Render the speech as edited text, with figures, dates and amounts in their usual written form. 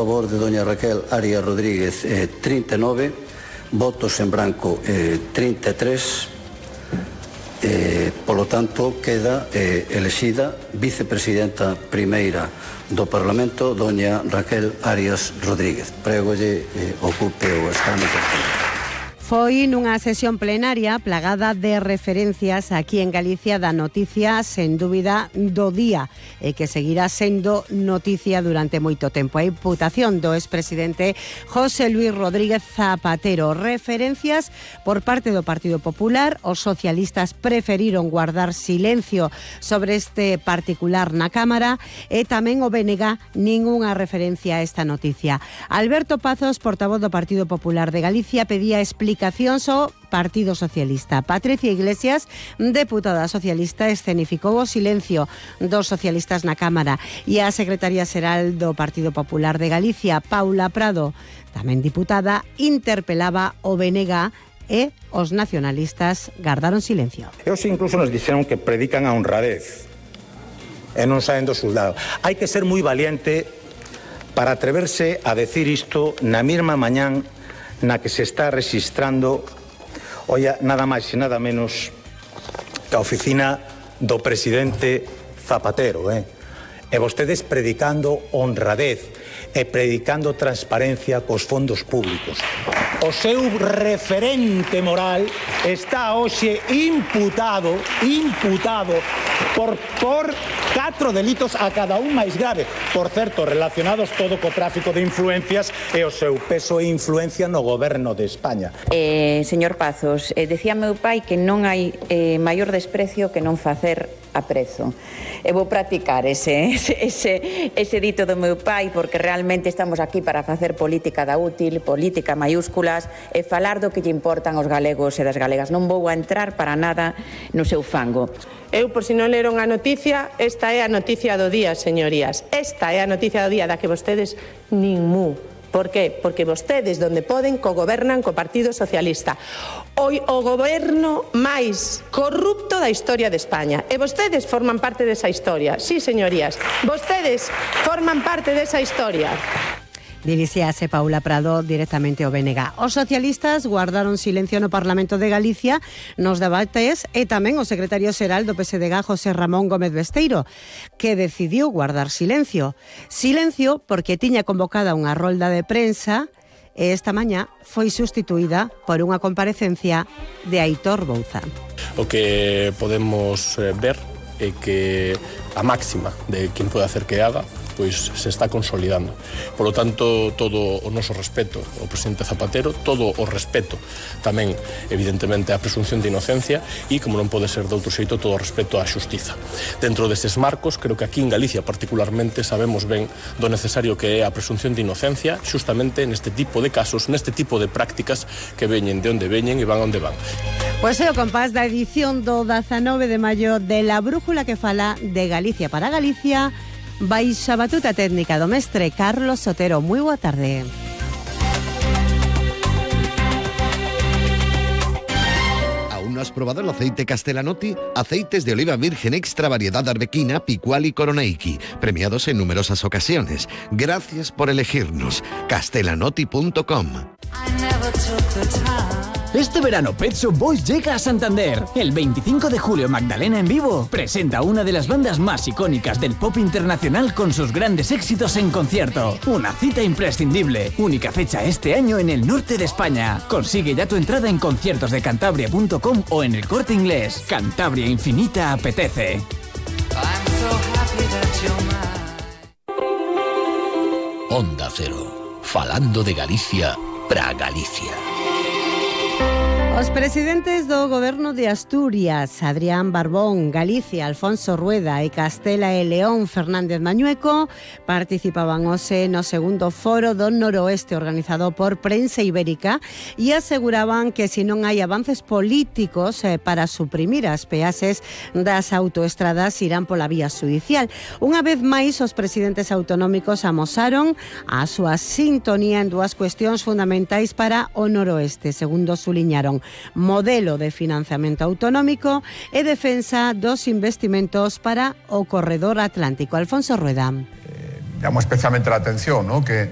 A favor de doña Raquel Arias Rodríguez, 39, votos en branco, 33, polo tanto, queda elexida vicepresidenta primeira do Parlamento, doña Raquel Arias Rodríguez. Prégolle ocupe o escano. Foi nunha sesión plenaria plagada de referencias aquí en Galicia da noticia sen dúbida do día e que seguirá sendo noticia durante moito tempo. A imputación do expresidente José Luis Rodríguez Zapatero. Referencias por parte do Partido Popular. Os socialistas preferiron guardar silencio sobre este particular na Cámara e tamén o BNG ningunha referencia a esta noticia. Alberto Pazos, portavoz do Partido Popular de Galicia, pedía explicacións ao Partido Socialista. Patricia Iglesias, deputada socialista, escenificou o silencio dos socialistas na Cámara e a secretaria xeral do Partido Popular de Galicia, Paula Prado, tamén diputada, interpelaba o BNG e os nacionalistas gardaron silencio. Eles incluso nos dixeron que predican a honradez e non saen do soldado. Hai que ser moi valiente para atreverse a decir isto na mesma mañán na que se está registrando, oia, nada máis e nada menos que a oficina do presidente Zapatero, E vostedes predicando honradez e predicando transparencia cos fondos públicos. O seu referente moral está hoxe imputado por 4 delitos a cada un máis grave, por certo, relacionados todo co tráfico de influencias e o seu peso e influencia no goberno de España. Señor Pazos, decía meu pai que non hai maior desprecio que non facer aprezo. E vou practicar ese dito do meu pai, porque realmente estamos aquí para facer política da útil, política maiúsculas, e falar do que lle importan aos galegos e das galegas. Non vou a entrar para nada no seu fango. Eu, por si non leron a noticia, esta é a noticia do día, señorías. Esta é a noticia do día da que vostedes nin mu. Por qué? Porque vostedes, donde poden, cogobernan co Partido Socialista. O goberno máis corrupto da historia de España. E vostedes forman parte desa historia. Sí, señorías, vostedes forman parte desa historia. Dirixíase Paula Prado directamente ao BNG. Os socialistas guardaron silencio no Parlamento de Galicia nos debates e tamén o secretario xeral do PSDG, José Ramón Gómez Besteiro, que decidiu guardar silencio. Silencio porque tiña convocada unha rolda de prensa e esta mañá foi sustituída por unha comparecencia de Aitor Bouza. O que podemos ver é que a máxima de quen pode hacer que haga pois se está consolidando. Por lo tanto, todo o noso respeto ao presidente Zapatero, todo o respeto tamén, evidentemente, á presunción de inocencia e, como non pode ser de outro xeito, todo o respeto á xustiza. Dentro destes marcos, creo que aquí en Galicia particularmente sabemos ben do necesario que é a presunción de inocencia justamente neste tipo de casos, neste tipo de prácticas que veñen de onde veñen e van onde van. Pois é o compás da edición do 19 de maio de La Brújula que fala de Galicia para Galicia, baixa batuta técnica do mestre Carlos Sotero. Moi boa tarde. ¿Aún no has probado el aceite Castellanotti? Aceites de oliva virgen extra variedad arbequina, picual y coroneiki, premiados en numerosas ocasiones. Gracias por elegirnos. Castellanotti.com. Este verano Pet Shop Boys llega a Santander. El 25 de julio Magdalena en vivo presenta una de las bandas más icónicas del pop internacional con sus grandes éxitos en concierto. Una cita imprescindible. Única fecha este año en el norte de España. Consigue ya tu entrada en conciertosdecantabria.com o en el Corte Inglés. Cantabria infinita apetece. Onda Cero. Falando de Galicia para Galicia. Os presidentes do Goberno de Asturias, Adrián Barbón, Galicia, Alfonso Rueda e Castela e León, Fernández Mañueco, participaban hoxe no segundo foro do Noroeste organizado por Prensa Ibérica e aseguraban que se non hai avances políticos para suprimir as peaxes das autoestradas irán pola vía judicial. Unha vez máis, os presidentes autonómicos amosaron a súa sintonía en dúas cuestións fundamentais para o Noroeste, segundo suliñaron: modelo de financiamento autonómico e defensa dos investimentos para o corredor atlántico. Alfonso Rueda. Llamo especialmente la atención, ¿no?, que